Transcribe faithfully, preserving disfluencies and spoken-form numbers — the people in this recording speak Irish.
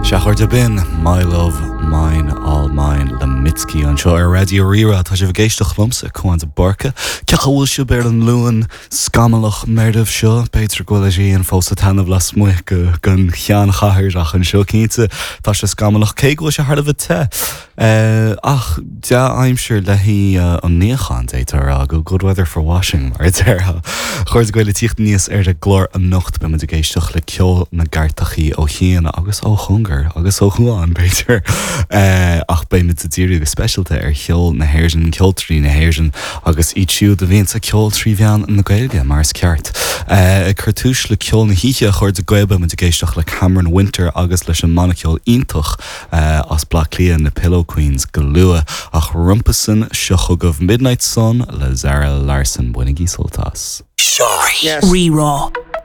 Sea a chairde b'in My Love Mine All Mine le Mitski anseo ar Raidió Rí-Rá tá sibh ag éisteacht liomsa Cuan de Búrca Cén chaoi a bhfuil sibh ar an Luan scamallach meirbh seo b'fhéidir go bhfuil sé fós ag taitneamh lasmuigh go den cheannchathair ach anseo cinnte tá sé scamallach cé go bhfuil sé thar a bheith te. Uh, ach dea-aimsir le haghaidh uh, an níocháin déarfá go good weather for washing mar déarfá. Chairde Gael ag tíocht aníos ar an gclár anocht beimid ag éisteacht le ceol na gcairteachaí ó chian agus ó chóngar agus ó chuan b'fhéidir uh, ach beimid ag díriú go speisialta ar cheol na hÉireann ceoltóirí na hÉireann agus iad siúd a bhíonn ag ceol trí mheán na Gaeilge mar is ceart. Uh, ag cur tús le ceol na hoíche a chairde Gael beimid ag éisteacht le Cameron Winter agus leis an mbanna ceoil iontach uh, as Bleá Cliath na Pillow Queens go luath ach roimhe sin seo chugaibh Midnight Sun le Zara Larsson bainigí sult as. Rí-Rá.